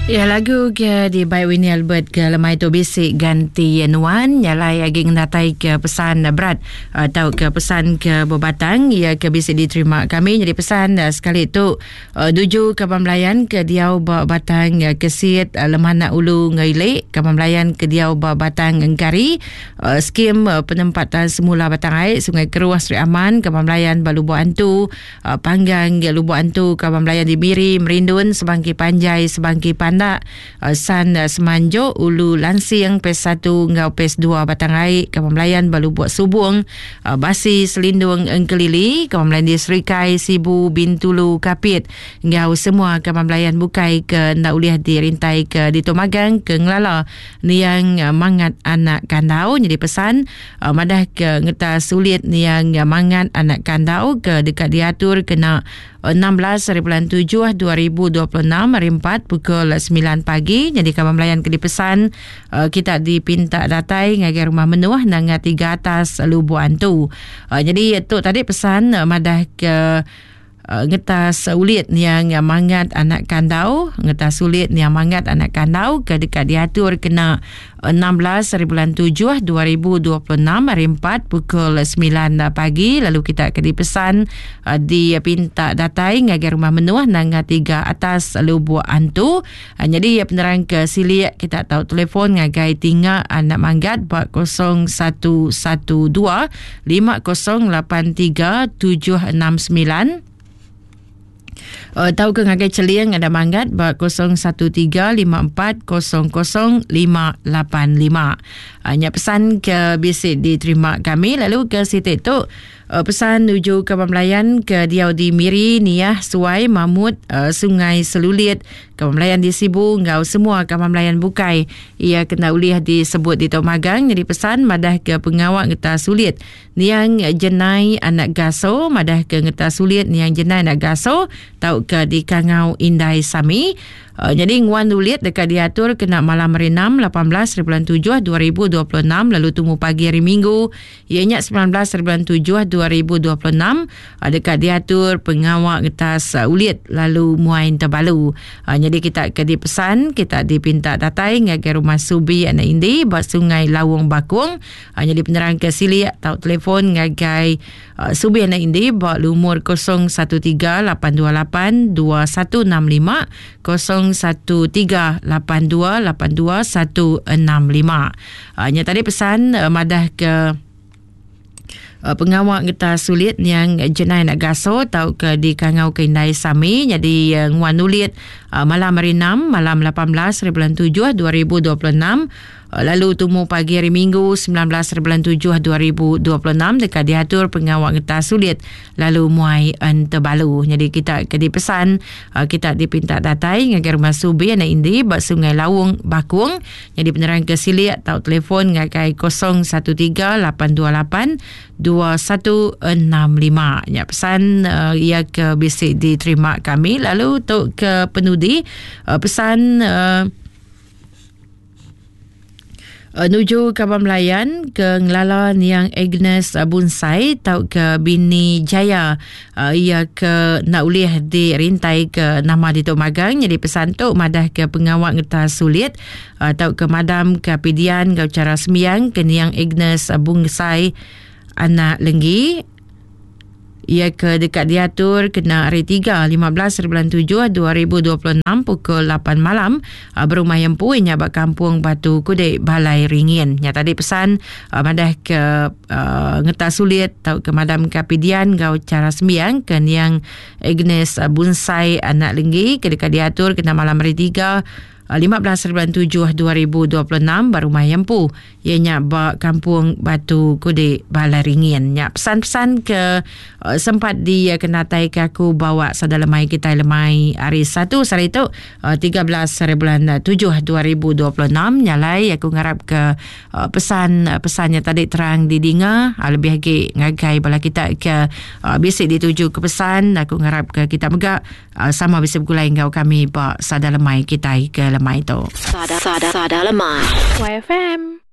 Ya lagu ke di bai Winnie Albert ke lemai tu bisi ganti nuan nyalai agi ngenatai ke pesan berat atau ke pesan ke bebatang ya ke bisi diterima kami jadi pesan sekali tu nuju kaban belayan ke diau ba batang kesit Lemanak Ulu Ngeli kaban belayan ke diau ba batang Engkari skim penempatan semula Batang Ai Sungai Keruh Sri Aman kaban belayan ba Lubok Antu Panggang Lubok Antu Kaban Belayan di Miri, Merindun, Sebangki Panjai, Sebangki Pandak, San Semanjok, Ulu Lansing, Pes 1 enggau Pes 2 Batang Ai, Kaban Belayan ba Lubok Subong, Basi, Selindung, Engkelili, Kaban Belayan di Serikai, Sibu, Bintulu, Kapit enggau semua kaban belayan bukai ke enda ulih dirintai ke ditu magang ke ngelala niang Mangat Anak Kandau nyadi pesan Madah ke ngeta sulit niang Mangat Anak Kandau ke deka diatur kena 16 hari bulan 7 2026 hari 4 pukul 9 pagi nyadi kaban belayan ke dipesan kita dipinta datai ngagai rumah menuh nanga tiga atas Lubok Antu. Nyadi tu tadi pesan madah ke Ngetas ulit niang Mangat Anak Kandau Ngetas ulit niang Mangat Anak Kandau ke deka diatur kena 16 hari bulan 7 2026 hari 4 pukul 9 pagi lalu kita ke dipesan dipinta datai ngagai rumah menuh Nanga Tiga Atas Lubuk Antu. Nyadi penerang ke silik kita tau telefon ngagai Tinga Anak Manggat ba 0112 5083 769 tauka ngagai Cheling Anak Manggat ba 013 5400 585. Nya pesan ke bisi diterima kami lalu ke siti tu Pesan nuju kaban belayan ke diau di Miri, Niah, Suai, Mamut, Sungai Selulit, kaban belayan di Sibu enggau semua kaban belayan bukai iya kena ulih disebut ditu magang nyadi pesan madah ke pengawa ngeta sulit niang Jenai anak Gaso madah ke ngeta sulit niang Jenai anak Gaso tauka dikangau Indai Sami. Nyadi nguan ulit deka diatur kena malam hari enam, 18 hari bulan tujuh 2026 lalu tumu pagi hari Minggu iya nya 19 hari bulan 7 2026 deka diatur pengawa ngetas ulit lalu muai tebalu. Nyadi kita ke dipesan kita dipinta datai ngagai rumah Subi anak Indi ba Sungai Lawong Bakong. Nyadi penerang ke silik tau telefon ngagai Subi anak Indi ba lumur 013 828 2165 013 828 2165. Nya tadi pesan madah ke pengawa ngeta sulit niang Jenai anak Gaso tauka dikangau ke Indai Sami nyadi nguan ulit malam hari 6 malam 18 hari bulan 7 2026 Lalu tumu pagi hari Minggu 19 hari bulan 7 2026 deka diatur pengawa ngetas sulit lalu muai entebalu. Nyadi kita ke dipesan kita dipinta datai ngagai rumah Subi anak Indi ba Sungai Lawung Bakung. Nyadi penerang ke silik tau telefon ngagai 013 828 2165. Nya pesan iya ke bisi diterima kami lalu tu ke penudi pesan Nuju kaban belayan ke ngelala niang Agnes Bunsai tauka bini Jaya iya ke enda ulih dirintai ke nama ditu magang nyadi pesan tu madah ke pengawa ngetas sulit tauka madam ke pidian enggau chara sembiang ke niang Agnes Bunsai anak Lenggi. Iya ke deka diatur kena hari Tiga, 15 hari bulan 7, 2026 pukul 8 malam berumah iya empu nya ba Kampung Batu Kudik, Balai Ringin. Nya tadi pesan madah ke ngeta sulit tauka madamka pidian enggau chara sembiang ke niang Agnes Bunsai anak Lenggi ke deka diatur kena malam hari Tiga, 15 hari bulan 7 2026 ba rumah iya empu iya nya ba Kampung Batu Kudik Balai Ringin. Nya pesan-pesan ke uh, sempat dikenatai ke aku bawa sada lemai kitai lemai hari satu sehari tu uh, 13 hari bulan 7 2026 nyalai aku ngarap ke uh, pesan pesannya tadi terang didinga uh, lebih agi ngagai bala kita ke uh, bisi dituju ke pesan aku ngarap ke kita mega Sama bisi begulai enggau kami ba Sada Lemai kitai ke lemai tu. Sada Sada Sada Lemai. YFM.